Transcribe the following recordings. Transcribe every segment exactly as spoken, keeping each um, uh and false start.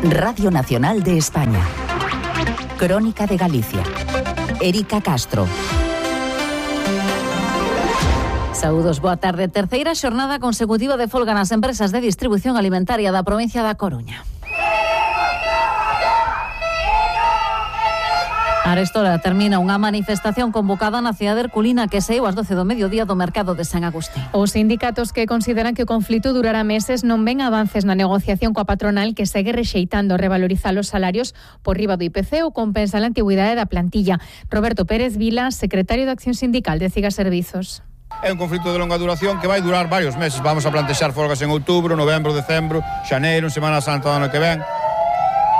Radio Nacional de España. Crónica de Galicia. Erika Castro. Saúdos, boa tarde. Terceira xornada consecutiva de folga nas empresas de distribución alimentaria da provincia da Coruña. Arestora termina unha manifestación convocada na cidade herculina que saíu ás doce do mediodía do mercado de San Agustín. Os sindicatos que consideran que o conflito durará meses non ven avances na negociación coa patronal que segue rexeitando revalorizar os salarios por riba do I P C ou compensar a antigüidade da plantilla. Roberto Pérez Vila, secretario de Acción Sindical de Ciga Servizos. É un conflito de longa duración que vai durar varios meses. Vamos a plantexar folgas en outubro, novembro, decembro, xaneiro, en Semana Santa do ano que ven,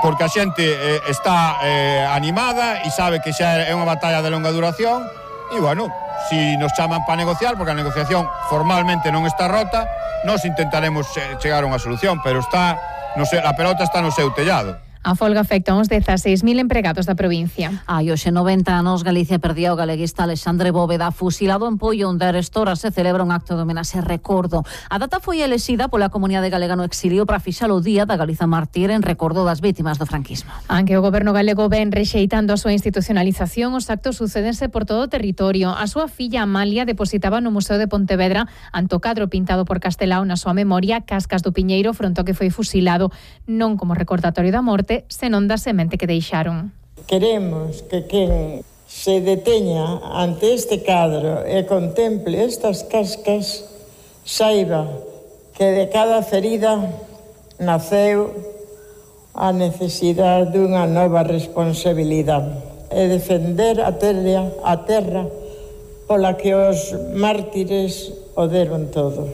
porque a xente eh, está eh, animada e sabe que xa é unha batalla de longa duración e, bueno, si nos chaman para negociar, porque a negociación formalmente non está rota, nós intentaremos chegar a unha solución, pero está, no sei, a pelota está no seu tellado. A folga afecta uns dezaseis mil empregados da provincia. Hai hoxe noventa anos Galicia perdía o galeguista Alexandre Bóveda, fusilado en Poio, onde arestora se celebra un acto de homenaxe recordo. A data foi elexida pola comunidade galega no exilio para fixar o Día da Galiza Mártir en recordo das vítimas do franquismo. Aunque o goberno galego ven rexeitando a súa institucionalización, os actos sucédense por todo o territorio. A súa filla Amalia depositaba no Museo de Pontevedra ante o cadro pintado por Castelao na súa memoria Cascas do Piñeiro fronte ao que foi fusilado, non como recordatorio da morte, senón da semente que deixaron. Queremos que quen se deteña ante este cadro e contemple estas cascas saiba que de cada ferida naceu a necesidade dunha nova responsabilidade e defender a terra, a terra pola que os mártires o deron todo.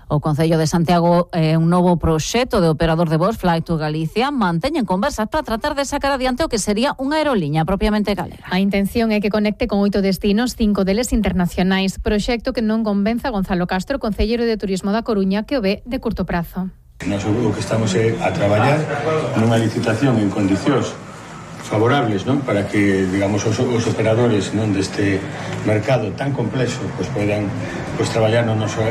O Concello de Santiago é eh, un novo proxecto de operador de voos Fly to Galicia manteñen conversas para tratar de sacar adiante o que sería unha aeroliña propiamente galega. A intención é que conecte con oito destinos, cinco deles internacionais, proxecto que non convenza Gonzalo Castro, concelleiro de Turismo da Coruña, que o ve de curto prazo. Nós o que estamos é a traballar nunha licitación en condicións favorables, non, para que, digamos, os, os operadores, non, deste mercado tan complexo, pois poidan pois traballar no noso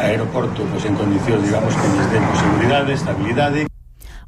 aeroporto pois en condicións, digamos, que lles den seguridade, estabilidade.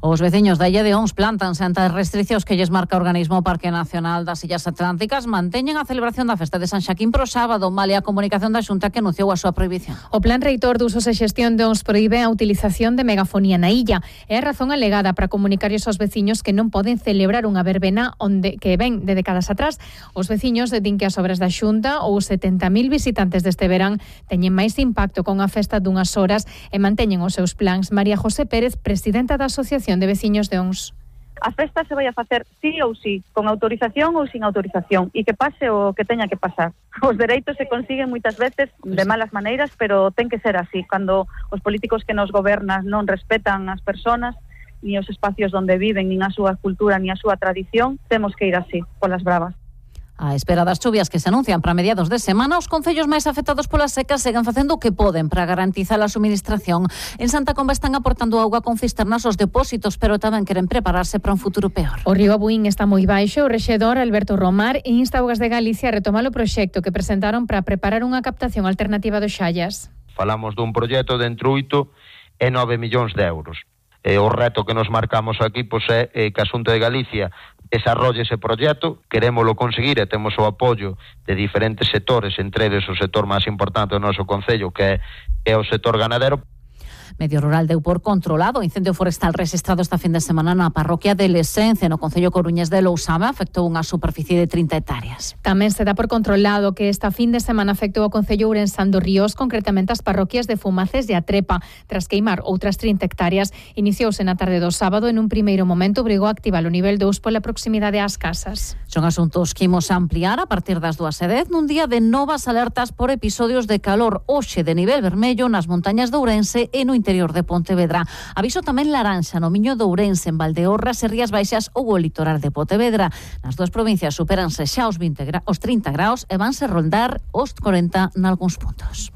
Os veciños da Illa de Ons plantanse ante as restriccións que lles marca o organismo Parque Nacional das Illas Atlánticas, manteñen a celebración da festa de San Xaquín pro sábado, malia a comunicación da Xunta que anunciou a súa prohibición. O Plan Reitor de Usos e Xestión de Ons proíbe a utilización de megafonía na illa. É a razón alegada para comunicarlles aos veciños que non poden celebrar unha verbena onde que ven de décadas atrás. Os veciños din que as obras da Xunta ou setenta mil visitantes deste verán teñen máis impacto con a festa dunhas horas e manteñen os seus plans. María José Pérez, presidenta da Asociación de Veciños de Ons. A festa se vai a facer sí ou sí, con autorización ou sin autorización, e que pase o que teña que pasar. Os dereitos se consiguen moitas veces de malas maneiras, pero ten que ser así. Cando os políticos que nos gobernan non respetan as persoas, ni os espacios onde viven, nin a súa cultura, ni a súa tradición, temos que ir así, polas bravas. A espera das chuvias que se anuncian para mediados de semana, os concellos máis afectados polas secas seguen facendo o que poden para garantizar a suministración. En Santa Comba están aportando auga con cisternas aos depósitos, pero tamén queren prepararse para un futuro peor. O río Abuín está moi baixo. O rexedor Alberto Romar insta a Augas de Galicia a retomar o proxecto que presentaron para preparar unha captación alternativa dos Xallas. Falamos dun proxecto de entre oito e nove millóns de euros. E o reto que nos marcamos aquí pois, é que a Xunta de Galicia desarrolle ese proxecto, querémolo conseguir e temos o apoio de diferentes sectores, entre eles o sector máis importante do noso concello, que é, que é o sector ganadero. Medio Rural deu por controlado o incendio forestal rexistrado esta fin de semana na parroquia de Lesence, no concello coruñés de Lousame, afectou unha superficie de trinta hectáreas. Tamén se dá por controlado que esta fin de semana afectou o concello ourensán dos Ríos, concretamente as parroquias de Fumaces e Atrepa. Tras queimar outras trinta hectáreas, iniciouse na tarde do sábado, en un primeiro momento obrigou a activar o nivel dous pola proximidade ás casas. Son asuntos que imos ampliar a partir das dúas e dez nun día de novas alertas por episodios de calor, hoxe de nivel vermello nas montañas de Ourense e no interior de Pontevedra. Aviso tamén laranxa no Miño de Ourense, en Valdeorras e Rías Baixas ou o litoral de Pontevedra. Nas dúas provincias supéranse xa os, vinte gra- os trinta graus e vanse rondar os corenta nalgúns puntos.